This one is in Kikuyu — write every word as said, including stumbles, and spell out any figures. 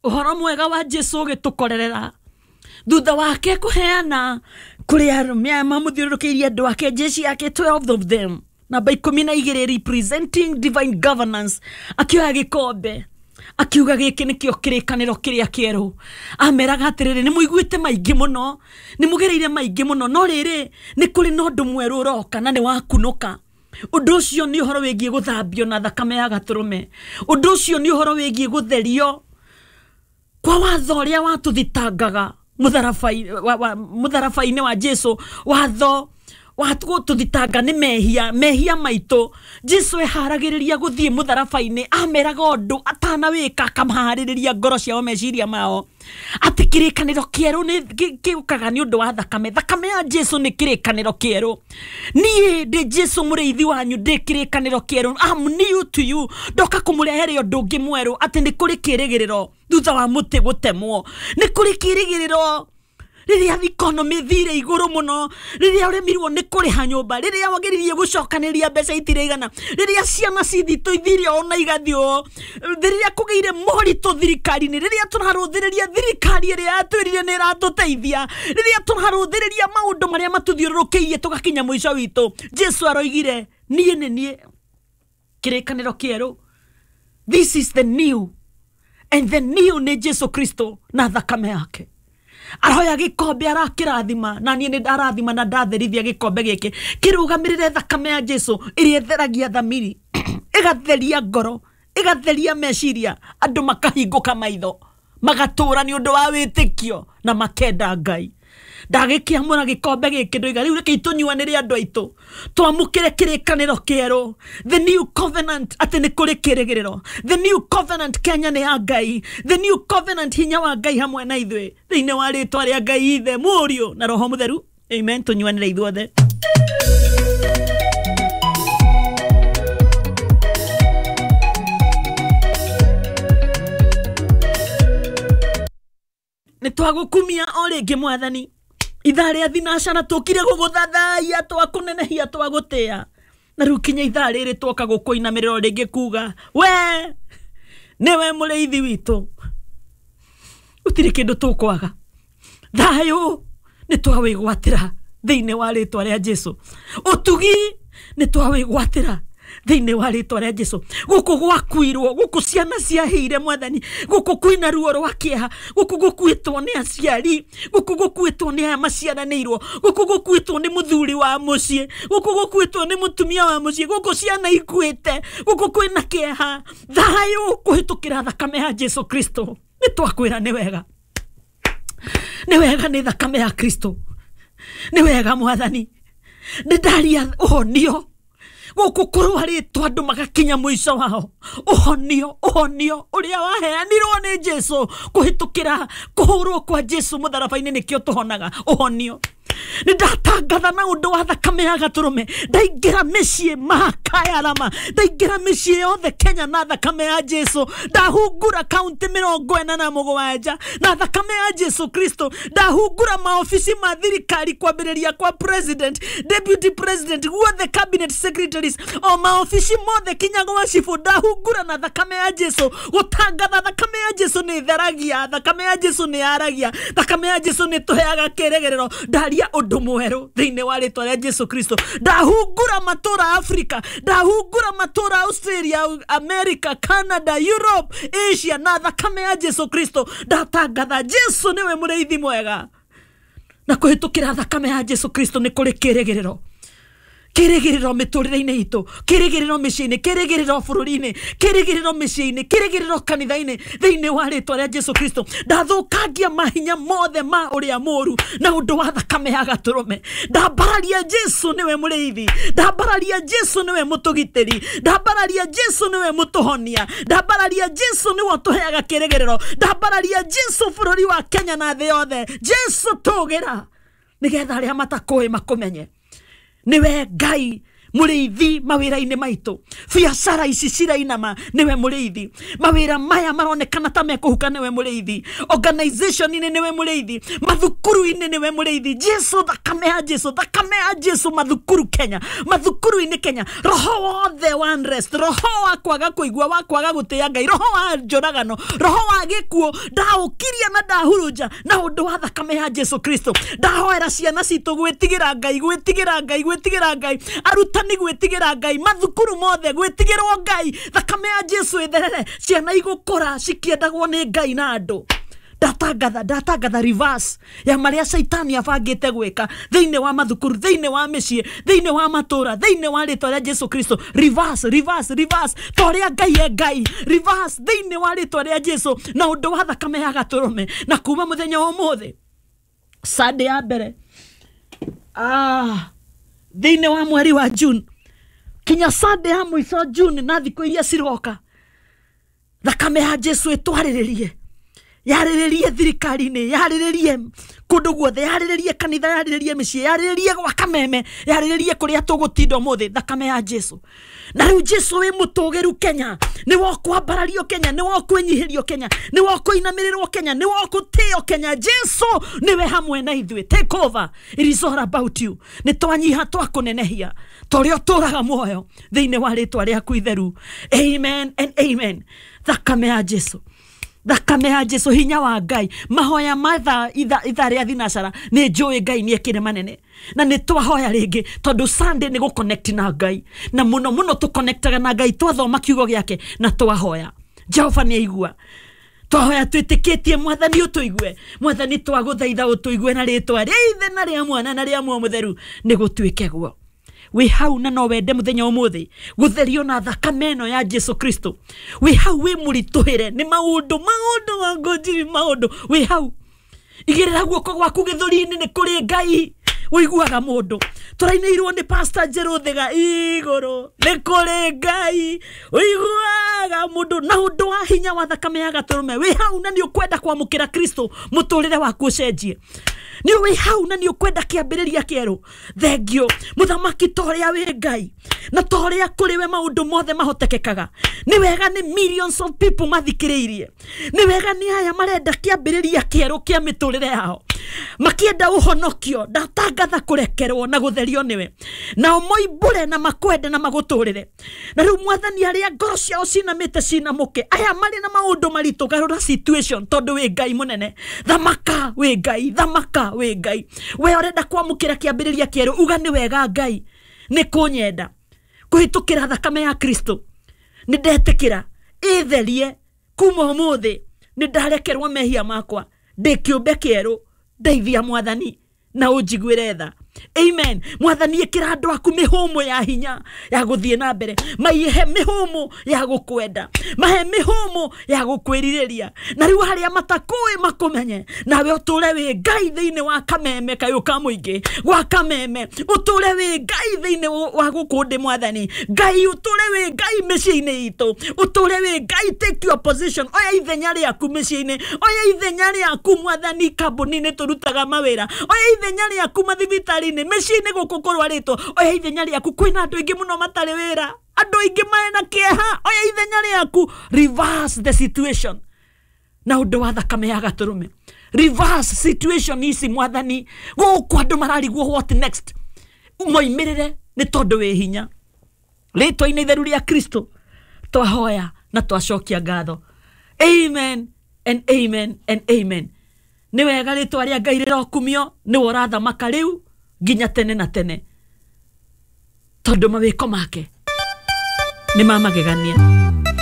Ũhoro mwega wa Jesu ũgĩtũkorerera thutha wake kũheana kũrĩ arũme aya mamũthiũrũrũkĩirie andũ ake, jeshi yake, twelve of them, namba ikũmi na igĩrĩ, representing divine governance. Akĩoya gĩkombe akiuga gĩkĩ nĩkĩo kĩrĩkanĩro kĩrĩa kĩerũ. Ameraga atĩrĩrĩ, nĩ mũiguĩte maingĩ mũno, nĩ mũgereire maingĩ mũno, no rĩrĩ nĩ kũrĩ na ũndũ mwerũ ũroka na nĩ wakunũka. Ũndũ ũcio nĩ ũhoro wĩgiĩ gũthambio na thakame ya gatũrũme. Ũndũ ũcio nĩ ũhoro wĩgiĩ gũtherio kwa watho ũrĩa watũthitangaga mũtharaba-inĩ wa Jesu. Watho watũthitanga nĩ mehia, mehia maitũ. Jesu eharagĩrĩria gũthiĩ mũtharaba-inĩ, ameraga ũndũ atanawĩka, akamaharĩrĩria ngoro ciao, meciria mao, atĩ kĩrĩkanĩro kĩerũ nĩ gĩũkaga nĩ ũndũ wa thakame. Thakame ya Jesu nĩ kĩrĩkanĩro kĩerũ. Niĩ ndĩ Jesu mũrĩithi wanyu, ndĩ kĩrĩkanĩro kĩerũ. I'm new to you. Ndoka kũmũrehere ũndũ ũngĩ mwerũ, atĩ nĩ kũrĩ kĩrĩgĩrĩro thutha wa mũtĩ gũtemwo, nĩ kũrĩ kĩrĩgĩrĩro rĩrĩa economy thire igũrũ mũno, rĩrĩa ũremirwo nĩ kũrĩha nyũmba, rĩrĩa wageririe gũcokanĩrĩria mbeca itirĩigana, rĩrĩa ciana cithitũ ithire ona igathiĩ ũũ, rĩrĩa kũgĩire moritũ thirikari-inĩ, rĩrĩa tũrarũthĩrĩria thirikari ĩrĩa yatwĩrire nĩ ĩratũteithia, rĩrĩa tũrarũthĩrĩria maũndũ marĩa matũthiũrũrũkĩirie tũgakinya mũico witũ. Jesu aroigire niĩ nĩ niĩ kĩrĩkanĩro kĩerũ. This is the new, and the new nĩ Jesu Kristo na thakame yake. Aroya gĩkombe arakĩrathima, na niĩ nĩ ndarathima na ndatherithia gĩkombe gĩkĩ kĩrũgamĩrĩre thakame ya Jesu ĩrĩa ĩtheragia thamiri, ĩgatheria ngoro, ĩgatheria meciria, andũ makahingũka maitho, magatũra nĩ ũndũ wa wĩtĩkio na makenda Ngai. Ndagĩkĩamũra gĩkombe gĩkĩ ndoiga rĩu reke tũnyuanĩre andũ aitũ, twamũkĩre kĩrĩkanĩro kĩerũ, the new covenant, atĩ nĩ kũrĩ kĩrĩgĩrĩro. The new covenant Kenya nĩ ya Ngai. The new covenant, hinya wa Ngai hamwe na ithuĩ, thĩinĩ wa rĩtwa rĩa Ngai Ithe, Mũriũ na Roho Mũtheru. Amen. Tũnyuanĩre ithuothe. Nĩ twagũkumia o rĩngĩ Mwathani. Ithaa rĩa thinacara tũkire gũgũthathaiya, twakũnenehia, twagũtĩa, na rĩu kinya ithaa rĩrĩ twoka gũkũinamĩrĩra o rĩngĩ kuga we nĩwe mũrĩithi witũ, gũtirĩ kĩndũ tũkwaga. Thayũ nĩ twawĩgwatĩra thĩinĩ wa rĩtwa rĩa Jesu. Ũtugi nĩ twawĩgwatĩra thĩinĩ wa rĩtwa rĩa Jesu. Gũkũ gwakuirwo, gũkũ ciana ciahĩire Mwathani, gũkũ kwĩna ruo rwa kĩeha, gũkũ gũkuĩtwo nĩ aciari, gũkũ gũkuĩtwo nĩ aya maciaranĩirwo, gũkũ gũkuĩtwo nĩ mũthuri wa mũciĩ, gũkũ gũkuĩtwo nĩ mũtumia wa mũciĩ, gũkũ ciana ikuĩte, gũkũ kwĩna kĩeha. Thayũ kũhĩtũkĩra thakame ya Jesu Kristo. Nĩ twakwĩra nĩ wega, nĩ wega nĩ thakame ya Kristo, nĩ wega Mwathani. Nĩ ndaria ũhonio gũkũ kũrwarĩtwo andũ magakinya mũico wao, ũhonio, ũhonio ũrĩa waheanirwo nĩ Jesu kũhĩtũkĩra kũhũrwo kwa Jesu mũtharaba-inĩ, nĩkĩo tũhonaga ũhonio. Nĩ ndatangatha na ũndũ wa thakame ya gatũrũme, ndaingĩra mĩciĩ makayarama, ndaingĩra mĩciĩ yothe Kenya na thakame ya Jesu, ndahungura kaunti mĩrongo ĩna na mũgwanja na thakame ya Jesu Kristo, ndahungura maobici ma thirikari kwambĩrĩria kwa president, deputy president, guothe cabinet secretaries, o maobici mothe kinya gwa cibũ, ndahungura na thakame ya Jesu, gũtangatha thakame ya Jesu nĩ ĩtheragia, thakame ya Jesu nĩ yaragia, thakame ya Jesu nĩ ĩtũheaga kĩrĩgĩrĩro. Ndaria ũndũ mwerũ thĩinĩ wa rĩtwa rĩa Jesu Kristo. Ndahungura matũra Africa, ndahungura matũra Australia, America, Canada, Europe, Asia na thakame ya Jesu Kristo. Ndatangatha Jesu nĩwe mũrĩithi mwega, na kũhĩtũkĩra thakame ya Jesu Kristo nĩ kũrĩ kĩrĩgĩrĩro, kĩrĩgĩrĩro mĩtũrĩre-inĩ itũ, kĩrĩgĩrĩro mĩciĩ-inĩ, kĩrĩgĩrĩro bũrũri-inĩ, kĩrĩgĩrĩro mĩciĩ-inĩ, kĩrĩgĩrĩro kanitha-inĩ, thĩinĩ wa rĩtwa rĩa Jesu Kristo. Ndathũkangia mahinya mothe ma ũrĩa mũũru na ũndũ wa thakame ya gatũrũme. Ndambararia Jesu nĩwe mũrĩithi, ndambararia Jesu nĩwe mũtũgitĩri, ndambararia Jesu nĩwe mũtũhonia, ndambararia Jesu nĩwe ũtũheaga kĩrĩgĩrĩro, ndambararia Jesu bũrũri wa Kenya na thĩ yothe. Jesu tũgĩra nĩgetha arĩa matakũĩ makũmenye nĩwe Ngai Mũrĩithi mawĩra-inĩ maitũ, biacara ici cirainama nĩwe mũrĩithi, mawĩra maya maronekana ta mekũhuka nĩwe mũrĩithi, organization-inĩ nĩwe mũrĩithi, mathukuru-inĩ nĩwe mũrĩithi. Jesu, thakame ya Jesu, thakame ya Jesu mathukuru Kenya, mathukuru-inĩ Kenya, roho wothe wa unrest, roho wa kwaga kũigua, wa kwaga gũtĩĩa Ngai, roho wa njũragano, roho wa gĩkuũ, ndaũkiria na ndahurunja na ũndũ wa thakame ya Jesu Kristo. Ndahoera ciana citũ gwĩtigĩra Ngai, gwĩtigĩra Ngai, gwĩtigĩra Ngai, arutani gwĩtigĩra Ngai, mathukuru mothe gwĩtigĩrwo Ngai, thakame ya Jesu ĩtherere, ciana igũkũra cikĩendagwo nĩ Ngai na andũ. Ndatangatha, ndatangatha reverse ya marĩa caitani abangĩte gwĩka thĩinĩ wa mathukuru, thĩinĩ wa mĩciĩ, thĩinĩ wa matũra, thĩinĩ wa rĩtwa rĩa Jesu Kristo. Reverse, reverse, reverse, ta ũrĩa Ngai e Ngai, reverse thĩinĩ wa rĩtwa rĩa Jesu na ũndũ wa thakame ya gatũrũme. Na kuma mũthenya wa ũmũthĩ, Sunday ya mbere ah, thĩinĩ wa mweri wa June kinya Sunday ya mũico June na thikũ iria ciroka, thakame ya Jesu ĩtwarĩrĩrie, yarĩrĩrie thirikari-inĩ, yarĩrĩrie kũndũ guothe, yarĩrĩrie kanitha, yarĩrĩrie mĩciĩ, yarĩrĩrie gwa Kameme, yarĩrĩrie kũrĩa tũgũtinda ũmũthĩ, thakame ya Jesu. Na rĩu Jesu wĩ mũtũgĩru Kenya, nĩ wokwambarario Kenya, nĩ wokwĩnyihĩrio Kenya, nĩ wokũinamĩrĩrwo Kenya, nĩ wokũtĩo Kenya. Jesu nĩwe hamwe na ithuĩ. Take over, it is all about you. Nĩ twanyiha twakũnenehia ta ũrĩa ũtũraga muoyo thĩinĩ wa rĩtwa rĩaku itheru. Amen and amen. Thakame ya Jesu, thakame ya Jesu, hinya wa Ngai, mahoya ma thaa ithaa rĩa thinacara nĩ njũĩ Ngai nĩ ekire manene, na nĩ twahoya rĩngĩ tondũ Sunday nĩ gũconnect na Ngai, na mũno mũno tũconnectaga na Ngai twathoma kiugo gĩake na twahoya. Jehova nĩ aigua. Twahoya twĩtĩkĩtie Mwathani ũtũigue, Mwathani twagũthaitha ũtũigue na rĩtwa rĩa Ithe na rĩa Mwana na rĩa Muoyo Mũtheru, nĩ gũtuĩke guo. Wĩ hau na no wende mũthenya ũmũthĩ gũtherio na thakame ĩno ya Jesu Kristo. Wĩ hau wĩ mũritũhĩre nĩ maũndũ, maũndũ mangũnjiri, maũndũ. Wĩ hau igĩrĩra guoko gwaku gĩthũri-inĩ, nĩ kũrĩ Ngai ũiguaga mũndũ. Tũrainĩirwo nĩ Pastor Njerũ Thiga igũrũ, nĩ kũrĩ Ngai ũiguaga mũndũ na ũndũ wa hinya wa thakame ya gatũrũme. Wĩ hau na nĩ ũkwenda kwamũkĩra Kristo mũtũrĩre waku ũcenjie. Nĩ wĩ hau na nĩ ũkwenda kĩambĩrĩria kĩerũ. Thengio mũthamaki, ta ũrĩa wĩ Ngai na ta ũrĩa kũrĩ we maũndũ mothe mahotekekaga. Nĩ wega nĩ millions of people mathikĩrĩirie, nĩ wega nĩ aya marenda kĩambĩrĩria kĩerũ kĩa mĩtũrĩre yao, makĩenda ũhonokio. Ndatangatha kũrekerwo na gũtherio nĩwe, nao moimbũre na makwende na magũtũrĩre. Na rĩu Mwathani, arĩa ngoro ciao cinamĩte cinamũke, aya marĩ na maũndũ maritũ, garũra situation tondũ wĩ Ngai mũnene. Thamaka wĩ Ngai, thamaka wĩ Ngai. We ũrenda kwamũkĩra kĩambĩrĩria kĩerũ, uga nĩ wega Ngai nĩ kũnyenda kũhĩtũkĩra thakame ya Kristo. Nĩ ndetĩkĩra ĩtherie kuma ũmũthĩ, nĩ ndarekerwo mehia makwa, ndĩ kĩũmbe kĩerũ. Ndeithia Mwathani na ũnjiguĩre tha. Amen. Mwathani, ĩkĩra andũ aku mĩhũmũ ya hinya ya gũthiĩ na mbere, maihe mĩhũmũ ya gũkwenda, mahe mĩhũmũ ya gũkwĩrirĩria, na rĩu harĩa matakũĩ makũmenye, nawe ũtũre wĩ Ngai thĩinĩ wa Kameme kayũ ka mũingĩ gwa Kameme, ũtũre wĩ Ngai thĩinĩ wa gũkũ ndĩ Mwathani Ngai, ũtũre wĩ Ngai mĩciĩ-inĩ itũ, ũtũre wĩ Ngai. Take your position, oya ithenya rĩaku mĩciĩ-inĩ, oya ithenya rĩaku Mwathani kambuni-inĩ tũrutaga mawĩra, oya ithenya rĩaku mathibitarĩ, mĩciĩ-inĩ gũkũ kũrwarĩtwo, oya ithenya rĩaku. Kwĩna andũ aingĩ mũno matarĩ wĩra, andũ aingĩ marĩ na kĩeha, oya ithenya rĩaku. Reverse the situation na ũndũ wa thakame ya gatũrũme. Reverse situation ici Mwathani, gũkũ andũ mararigwo what next, moimĩrĩre nĩ tondũ wĩ hinya. Rĩtwa-inĩ itheru rĩa Kristo twahoya na twacokia ngatho. Amen and amen and amen. Nĩ wega rĩtwa rĩa Ngai rĩrokumio, nĩwe ũrathamaka rĩu nginya tene na tene, tondũ mawĩko make nĩ ma magegania.